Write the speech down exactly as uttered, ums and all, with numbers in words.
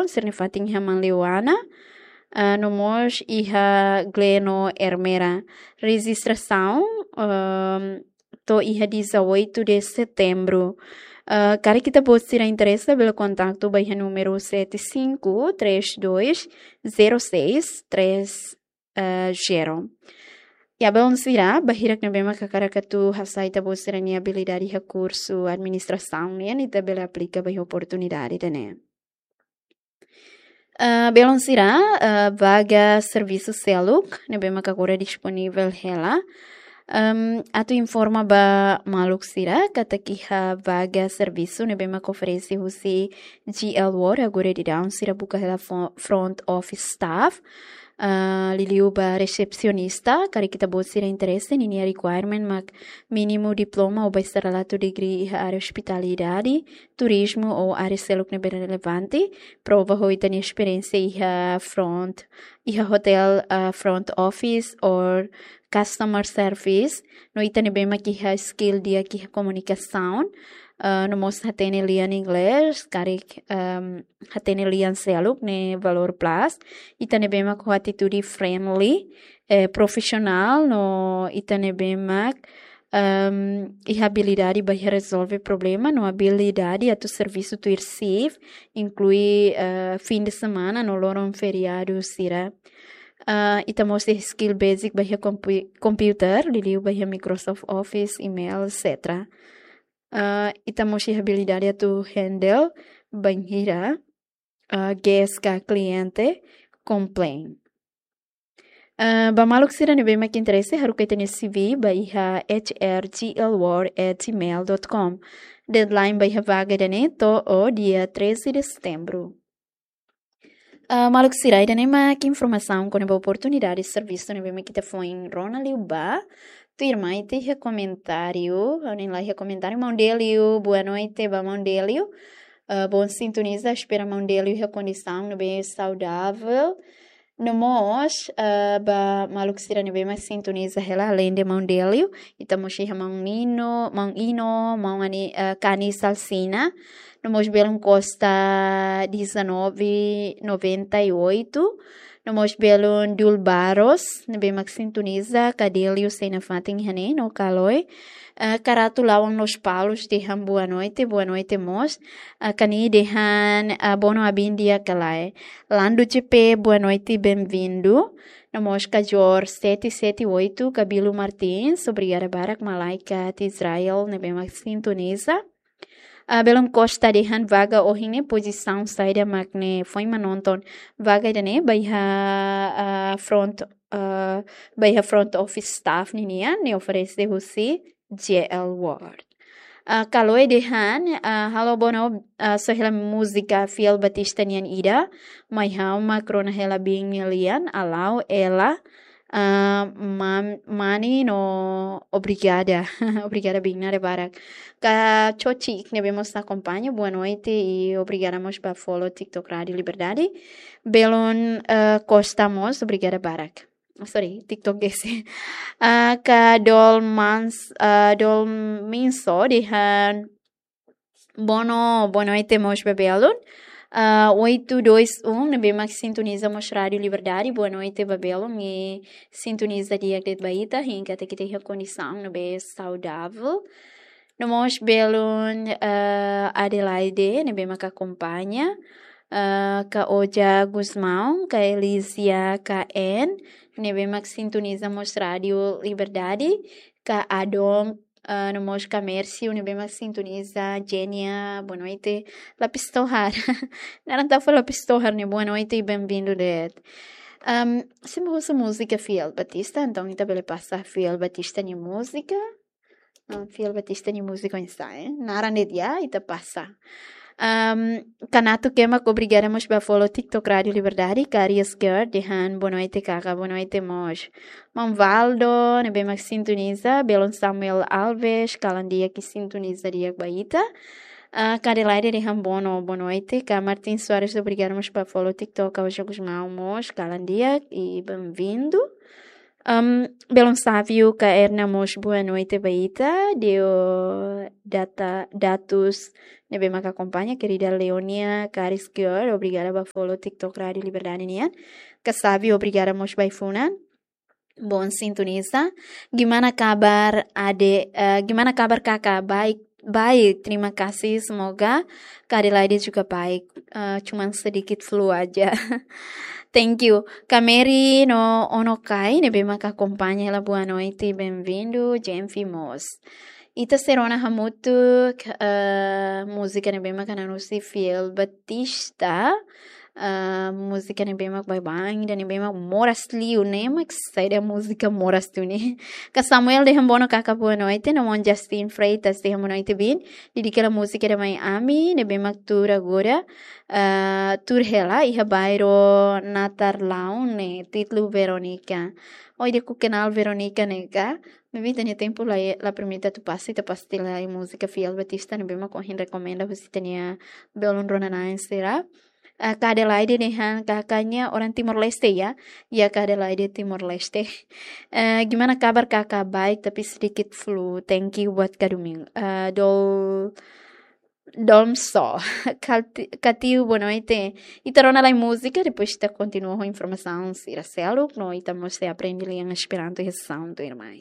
sira-nia fatin iha Manleuana, ah, no mós iha Gleno Ermera. Rejistrasaun, ehm, to'o iha dezoito de setembro. Ah, karik ita-boot sira interese, bele kontaktu ba iha númeru sete cinco três dois zero seis três, eh, zero. Ya, belun sira, ba hirak ne'ebé mak hakarak atu hasa'e ita-boot sira-nia abilidade iha kursu administrasaun nian, ita bele aplika ba iha oportunidade ida-ne'e. Ah, belun sira, ah, vaga servisu seluk ne'ebé mak agora disponivel hela. Ehm, atu informa ba maluk sira katak iha vaga servisu ne'ebé mak oferese husi G L World, agora daudaun sira buka hela fo-, front office staff. Ah, liuliu ba resepsionista, karik ita-boot sira interese, ninia requirement mak mínimu diploma ou bacharelatu degree iha área ospitalidade, turizmu ou área seluk ne'ebé relevante, prova ho ita-nia esperiénsia iha front, iha hotel, ah, front office or customer service, no ita ne'ebé mak iha skill di'ak iha komunikasaun, ah, no mós hatene lian inglés, karik, ehm, hatene lian seluk ne'e valór plus, ita ne'ebé mak ho atitude friendly, eh, profisionál, no ita ne'ebé mak, ehm, iha abilidade ba iha rezolve problema, no abilidade atu servisu tuir shift, inklui, eh, fin de semana no loron feriadu sira. Ah, ita mós iha skill basic ba iha kompu-, computer, liuliu ba iha Microsoft Office, email, et cetera. Ah, ita mós iha abilidade atu handle bainhira, ah, guest ka kliente complain. Ah, ba maluk sira ne'ebé mak interese, haruka ita-nia C V ba iha H R G L world at gmail dot com. Deadline ba iha vaga ida-ne'e to'o dia treze de setembro. Ah, maluk sira, ida-ne'e mak informasaun kona-ba oportunidade servisu ne'ebé mak ita foin rona liu ba. Tuirmai ita iha komentáriu, ha'u hanoin la iha komentáriu, maun Delio, boa noite ba maun Delio. Ah, bom sintoniza, espera maun Delio iha kondisaun ne'ebé saudável. No mós, ah, ba maluk sira ne'ebé mak sintoniza hela, além de maun Delio, ita mós iha maun Nino, maun Ino, maun Ani, ah, Kani Salsina, no mós belun Costa dezanove noventa e oito, no mós belun Dul Barros, ne'ebé mak sintoniza, ka Delio sei nafatin iha ne'e, no Kaloe, eh, Karatu Lawan Lospalos dehan boa noite, boa noite mós, eh, Kani dehan, eh, Bono Abin di'ak ka lae. Lando G P, boa noite, bem-vindo. No mós Kajor sete sete oito, Kabilo Martins, obrigada barak, malaikat Israel, ne'ebé mak sintoniza. Ah, belun Costa dehan vaga ohin ne'e pozisaun saida mak ne'e, foin mak nonton vaga ida-ne'e ba iha, ah, front, ah, ba iha front office staff ninian, ne'e oferese husi G L World. Ah, Kaloe dehan, ah, halo Bono, ah, só hela múzika Fiel Batista nian ida, mai ha'u mak rona hela biin nia lian, halo ela, ah, mam-, mani no obrigada. Obrigada biin nada barak. Ka Chochi ne'ebé mós akompaña, boa noite i obrigada mós ba follow TikTok Rádio Liberdade. Belun, ah, Costa mós, obrigada barak. Ah, sorry, TikTok gese. Ah, ka Dol Mans-, ah, Dol Minso dehan Bono, boa noite mós ba belun. Ah, oito dois um, ne'ebé mak sintoniza mós Rádio Liberdade. Boa noite ba belun, i sintoniza di'ak de'it ba ita, hein katak ita iha kondisaun ne'ebé saudável. No mós belun, ah, Adelaide, ne'ebé mak akompaña. Ah, ka Oja Gusmão, ka Elisia, ka En, ne'ebé mak sintoniza mós Rádio Liberdade, ka Adon, ah, no mós ka Mércio, ne'ebé mak sintoniza, Jenia, boa noite, Lapis Tohar. Naran Tafa Lapis Tohar ne'e, boa noite i bem-vindo de'it. Ahm, se mak husu múzika Fiel Batista, entaun ita bele pasa Fiel Batista nia múzika. Ah, Fiel Batista nia múzika oinsá, eh? Naran de'it ya, ita pasa. Ahm, Kanato Kemak, obrigada mós ba follow TikTok Rádio Liberdade, Karius Girl, dehan boa noite, kaka, boa noite mós. Maun Valdo, ne'ebé mak sintoniza, belun Samuel Alves, kalan di'ak i sintoniza di'ak ba ita. Ah, ka Adelaide dehan Bono, boa noite, ka Martin Soares, obrigada mós ba follow TikTok, Kau Jogos Mau mós, kalan di'ak i bem-vindo. Ahm, belun Sávio, ka Erna mós, boa noite ba ita, Deo Data, Datus, ne'ebé maka akompaña, kerida Leonia Karis Girl, obrigada ba follow TikTok Rádio Liberdade nian. Kasabi, obrigada mós ba ai-funan. Bom sintoniza. Gimana kabar, Ade? Eh, gimana kabar, Kakak? Baik, baik. Terima kasih. Semoga Kak Adelaide juga baik. Eh, cuman sedikit flu aja. Thank you. Kak Mary no Ono Kai, ne'ebé maka akompaña hela, boa noite, bem-vindo, J M V mós. Ita sei rona hamutuk, eh, múzika ne'ebé maka nanusi Fiel Batista, eh, múzika ne'ebé mak baibain, ida ne'ebé mak moras liu ne'e, mak saida múzika moras liu ne'e. Kak Samuel dehan bono, Kakak boa noite, no maun Justin Freitas dehan boa noite, bin. Dedika hela múzika ida mai ami, ne'ebé mak tuur agora, eh, tuur hela iha bairru Natar Laun ne'e, títulu Veronica. Oi, ida-ne'e ha'u kenal Veronica ne'e ka. Maibé ita-nia tempu la, la permite atu pasa, ita pasti la iha múzika Fiel Batista ne'ebé mak ohin rekomenda husi ita-nia belun rona-na'in sira. Eh, Kak Adelaide dehan, Kakak ne'e orang Timor-Leste ya? Ya, Kak Adelaide Timor-Leste. Eh, gimana kabar, Kakak? Baik, tapi sedikit flu. Thank you buat Kak Domingo. Eh, Dol, Dolmso. Kati-, Katiu, boa noite. Ita rona lai múzika, depois ita kontinua ho informasaun sira seluk, no ita mós sei aprende lian Esperanto iha Santo Irmai.